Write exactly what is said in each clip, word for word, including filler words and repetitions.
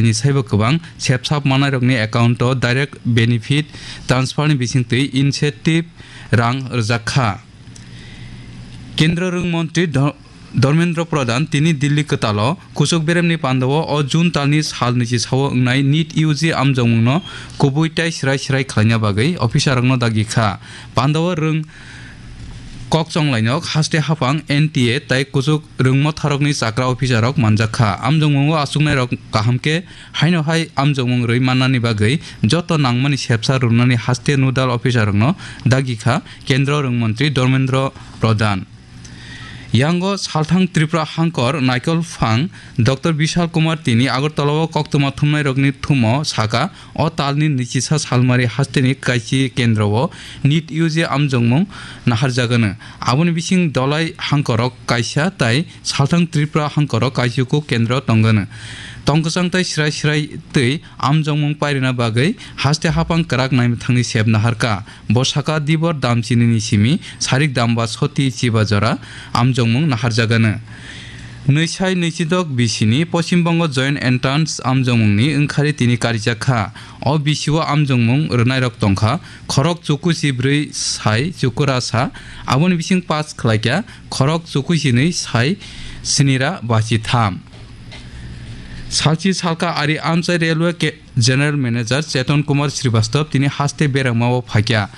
ni saibo kwbang sepsap manairokni account-o direct benefit transfer-ni bisingtwi incentive rang rwjak kha. Kendra rwng montri Dho-, Dharmendra Pradhan tini Delhi kwtalo kuchuk beremni pandao o June talni sal nwichi sao wngnai NEET U G amjokmungno kubui tei srai srai khlaina bagwi officer-rokno dagi kha. Pandao rwng kok chonglainok haste haphang N T A tei kuchuk rwngmotharokni chakra officer-rok manjak kha. Amjokmungo achuknairok kaham khe haino hai amjokmung rwi mannani bagwi joto nangmani sepsa rwnani haste nodal officer-rokno dagi kha Kendra rwng montri Dharmendra Pradhan. Yango salthang Tripura hangkor naikol phang Doctor Bishal Kumar tini Agartala-o koktwma thumnairokni thumo saka, o talni nwichisa salmari hasteni kaisi kendro-o NEET U G amjokmung naharjagano. Aboni bising Dolai hangkorok kaisa tai salthang Tripura hangkorok kaisiko kendro tongano. Tongkwchang tai srai srai twi amjokmung pairina bagwi haste haphang kwrak naimwthangni sep naharka. Bo saka Dibor Damchinini simi Sarik Damba Soti Chiba jora amjokmung naharjagano. Nwisai nwichidok bisini Poschim Bongo Joint Entrance amjokmungni wngkhari tini karijak kha. O bisio amjokmung rwnairok tongkha, khorok chukusi brwi sai chukurasa, aboni bising pass khlaikha, khorok chukusi nwi sai sinira bachitham. Salchi salka ari amchai railway ke-, General Manager Cheton Kumar Srivastava tini haste berengmao phaikha.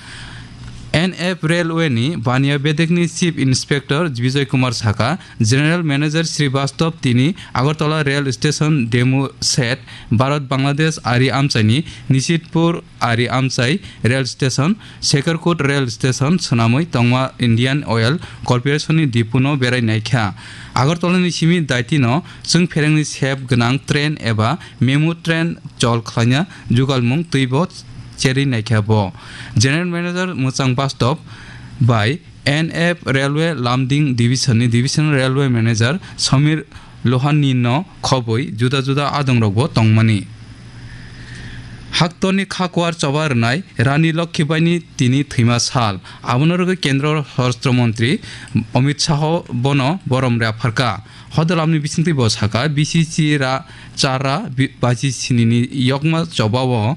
N F Railway ni baniya bedekni Chief Inspector Bijoy Kumar saka, General Manager Srivastava tini Agartala Rail Station demo set, Bharat Bangladesh ari amchaini Nishitpur ari amchai rail station, Sekarkot rail station swnamwi tongma Indian Oil Corporation ni dipuno berai naikha. Agartala ni simi daitino chwng pherengni sep gwnang train eba memu train chol khlaina jugalmung twibo cherwi naikha bo. General Manager Mwchang Bastob bai N F Railway Lumding Division ni Divisional Railway Manager Samir Lohani no khobwi juda juda adongrokbo tongmani. Haktorni khakuar choba rwnai Rani Lokhi Baini tini thwima sal. Abono rwgwi Kendra Swarashtra Montri Amit Shah bono borom rwpharkha. Hodalamni bisingtwi bo saka, B C C ra char ra bi-, baji sinini yokma chobao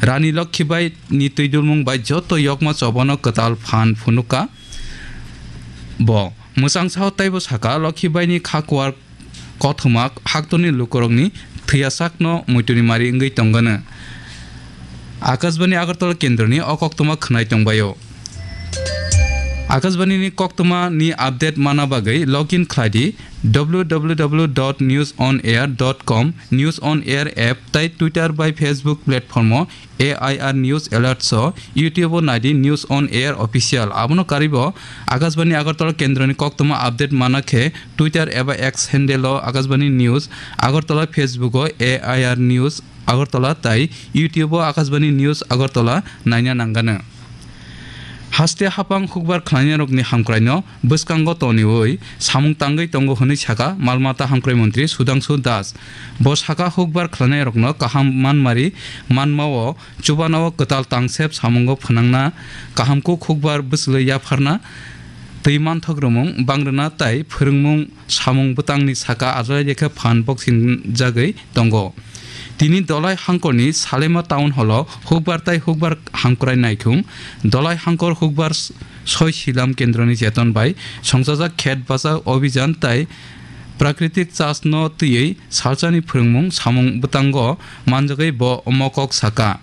Rani Lokhi Baini twidulmung bai joto yokma chobano kwtal phan phunukha bo. Mwchang sao teibo saka, Lokhi Baini khakuar kothoma haktorni lukurokni thwiyasakno muituni mari wngwi tongano. Akashbani Agartala kendroni o koktwma khwnai tongbaio. Akashbani ni koktwma ni update mana bagwi login khlai di W W W dot news on air dot com, News on Air app tei Twitter bai Facebook platform o A I R News Alerts o, YouTube o nai di News on Air Official. Abono karwibo Akashbani Agartala kendroni koktwma update mana khe Twitter eba X handle o Akashbani News Agartala, Facebook o A I R News Agartala tai YouTube o Akashbani News Agartala naina nangano. Haste haphang hukbar khlainairokni hamkraino bwskango toniwi samung tangwi tongo hwnwi saka mal mata hamkrai montri Sudhangshu Das. Bo saka hukbar khlainairokno kaham manmari manmao chubanao kwtal tangsep samungo phwnangna, kaham kuk hukbar bwchwlwi yapharna, twi manthok rwmung bangrwna tai phwrwngmung samung bwtangni saka ajai rekha phan boksing jagwi tongo. Tini Dolai hangkorni Salema Town Hall o hukbar tai hukbar hamkrai naithung, Dolai hangkor hukbar s-, soi silam kendroni jeton bai songchajak khet bachak obhijan tai prakritik chas no twiwi salsani phwrwngmung samung bwtango manjagwi bo mokok saka.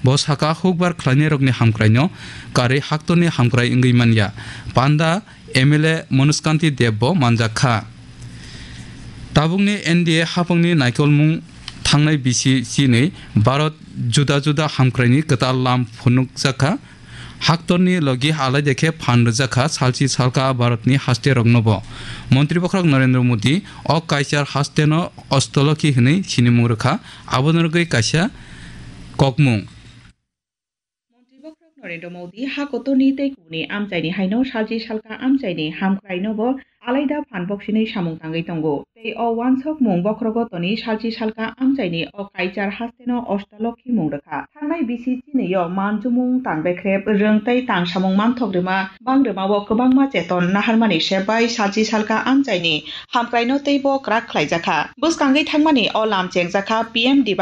Bo saka hukbar khlainairokni hamkraino karwi haktorni hamkrai wngwi manya. Panda M L A Manoj Kanti Deb bo manjak kha. Tabukni N D A haphangni naikolmung thangnai bisi chinwi Bharat juda juda hamkraini kwtal lam phunukjak kha. Haktorni logi alaide khe phan rwjak kha salchi salka Bharatni haste roknobo. Montri bokhorok Narendra Modi o kaichar hasteno Ostolokhi hwnwi sinimung rwkha, aboni rwgwi kaisa kokmung. Narendra Modi ha kotorni tei kubuni amchaini haino salchi salka amchaini hamkraino bo alaida phan boksinwi samung tangwi tongo. Tei o wansokmung bokhorogo toni salchi salka amchaini o kaichar hasteno ostalokhi mung rwkha. Thangnai bisi chinio manjumung tang bekrep rwng tei tang samung manthok rwma bang rwmao kwbangma cheton naharmani sep bai salchi salka amchaini hamkraino teibo kwrak khlaijakha. Bwskangwi thangmani o lam chengjakha P M D